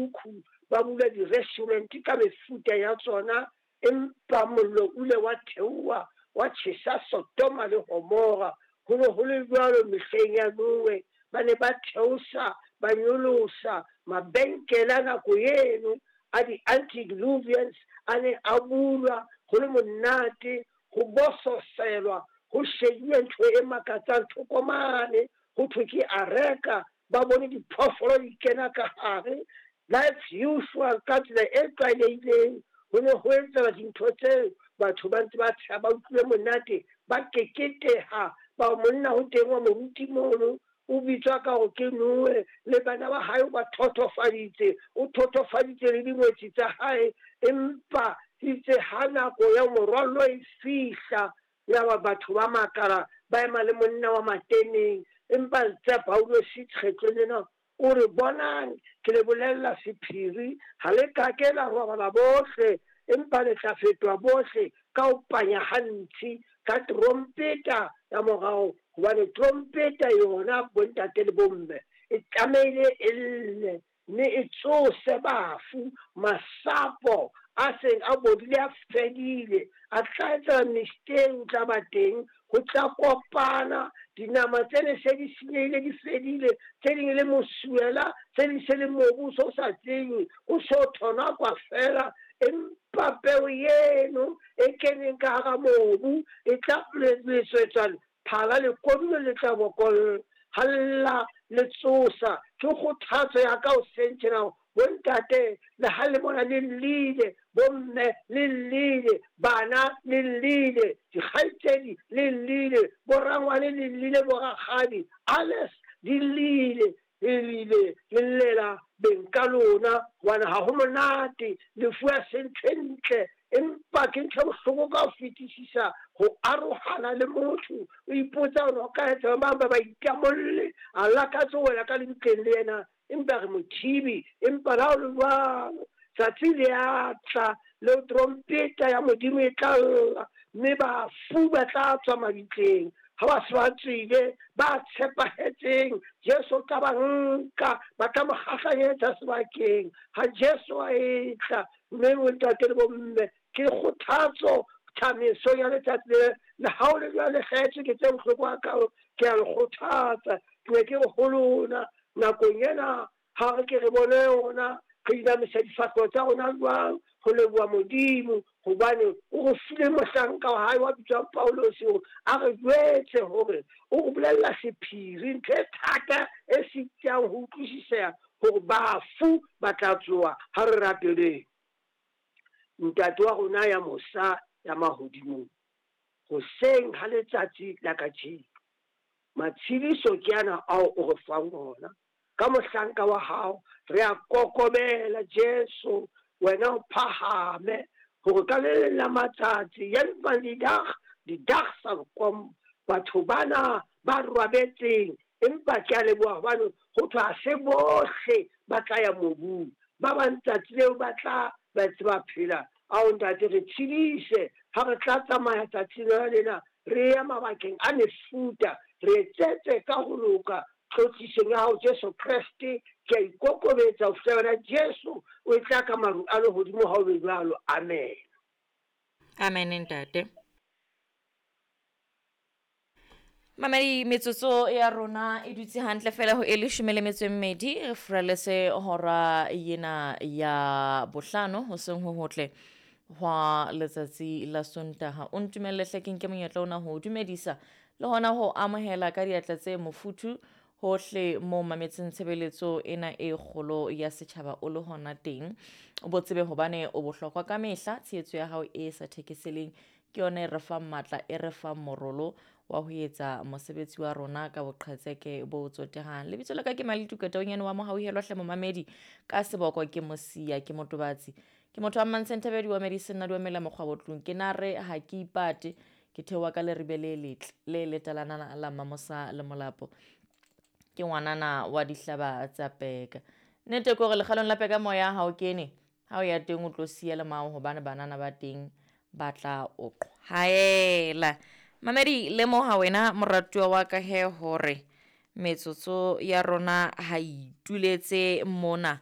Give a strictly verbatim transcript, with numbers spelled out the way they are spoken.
mekhukhu, ba bula di-restaurant ka mefuta ya tsona, empa mollo o ile wa theoha wa tjhesa Sodoma le Gomora. Ho ne ho le jwalo mehleng ya Noe, ba ne ba theosa ba nyolosa mabenkele a nako eno a di-antediluvians a ne a bulwa, ho le monate, ho bososelwa, ho shebuwe ntho e makatsang thoko mane, ho thwe ke areka, ba bone diphoofolo di kena ka hare. Life usual ka tsela e tlwaelehileng, ho ne ho etsahala dintho tseo, batho ba ntse ba tsheha, ba utlwile monate, ba keketeha. Ba monna ho teng wa moruti mono, o bitswa ka hore ke Noe, le bana ba hae o ba thothofaditse, o thothofaditse le dingwetsi tsa hae. Empa itse ha nako ya morwallo e fihla, yaba batho ba makala, ba ema le monna wa mateneng. Empa tsa Paulus kgetlong lena o re, bonang ke le bolella sephiri, ha le ka ke la robala bohle, empa le tla fetoha bohle ka ho panya ha ntshi, ka trompeta ya morao. Hobane trompeta yona, bontate le bomme, e tlamehile e lle, mme e tsose bafu, masapo a seng a bodile a fedile, a tla etsa mistake, o tla ba teng, ho tla kopana dinama tse ne se di senyehile di fedile, tse ding le mosuela, tse ding se le mobu o so sa tsejwe, o so thonakwa fela. Empa peo eno e keneng ka hara mobu e tla letswetswa phala le kodulo le tla bokolla, ha lla le tsosa. Ke kgothatso ya ka hoseng tjena, bontate le ha le bona le llile, bomme le llile, bana le llile, dikgaitsedi le llile, borangwane le llile, borakgadi alles di llile, le llile, le llela beng ka lona, hobane ha ho monate, lefu ha se ntho e ntle, empa ke ntho e bohloko ka ho fetisisa ho arohana le motho. O ipotsa hore o ka etsa ba bang ba ba itamolle, a lakatse ho wela ka lebitleng le yena, empa re mothibi. Empa le ha ho le jwalo, tsatsi le a tla leo trompeta ya Modimo e tla lla, mme bafu ba tla tswa mabitleng. Ha ba se ba tswile, ba tshepahetseng, Jesu o tla ba nka, ba tla mo kgahlanyetsa sebakeng ha Jesu a etla. Mme bontate le bomme, ke kgothatso tsamaiso ya letsatsi le, le ha o le jwale hlahetswe ke tse bohloko hakalo, ke a le kgothatsa. Ke ne ke re ho lona nakong ena, ha re ke re bone yona, re inamisa difahleho tsa rona jwang ho leboha Modimo, hobane o re file mohlanka wa hae wa bitswang Paulus hore a re jwetse hore o re bolella sephiri, ntho e thata e sitang ho utlwisiseha, hore bafu ba tla tsoha. Ha re rapeleng. Ntate wa rona ya mosa ya mahodimong, hoseng ha letsatsi la kajeno, matshediso ke ana ao o re fang ona ka mohlanka wa hao. Re a kokobela Jesu, wena o phahame, hore ka le leng la matsatsi, een van die dag, die dag sal kom, batho bana ba robetseng, empa ke a leboha hobane ho thwe ha se bohle ba tla ya mobung, ba bang tsatsi leo ba tla ba ntse ba phela. Ao ntate, re tshedise ha re tla tsamaya tsatsing lona lena, re ya mabakeng a mefuta, re etsetse ka ho loka tlotlisong ya hao Jesu Kreste. Ke a ikokobetsa ho fihlela wena Jesu o e tla ka maru a lehodimo ha o be jwalo. Amen. Amen, ntate. Mamedi, metsotso ya rona e dutse hantle fela ho e leshome le metso e mmedi, re furaletse hora ena ya bohlano hoseng ho hotle hwa letsatsi la Sontaha. O ntumelle hle ke nke monyetla ona ho dumedisa le hona ho amohela ka diatla tse mofuthu hohle mo mametseng tshebeletso ena e kgolo ya setjhaba o le hona teng. O bo tsebe hobane o bohlokwa ka mehla, tshehetso ya hao e sa thekeseleng ke yona e re fang matla, e re fang morolo wa ho etsa mosebetsi wa rona ka boqhetseke bo tsotehang. Lebitso la ka ke Malituka Taonyane wa Mohauhelwa hle momamedi, ka seboko ke Mosia, ke motobatsi, ke motho wa Mmantshenthebedi wa Medicine na dumela mokgwa botlong. Ke na re ha ke ipate, ke theoha ka leribe le letle le letalana la Mamosa le Molapo, ke ngwanana wa dihlaba tsa peka. Nnete ke hore lekgalong la peka moya ha o kene, ha o ya teng o tlo siya le mao, hobane banana ba teng ba tla o qhwaela. Mamedi, lemoha wena moratuwa wa ka he hore metsotso ya rona ha ituletse mona.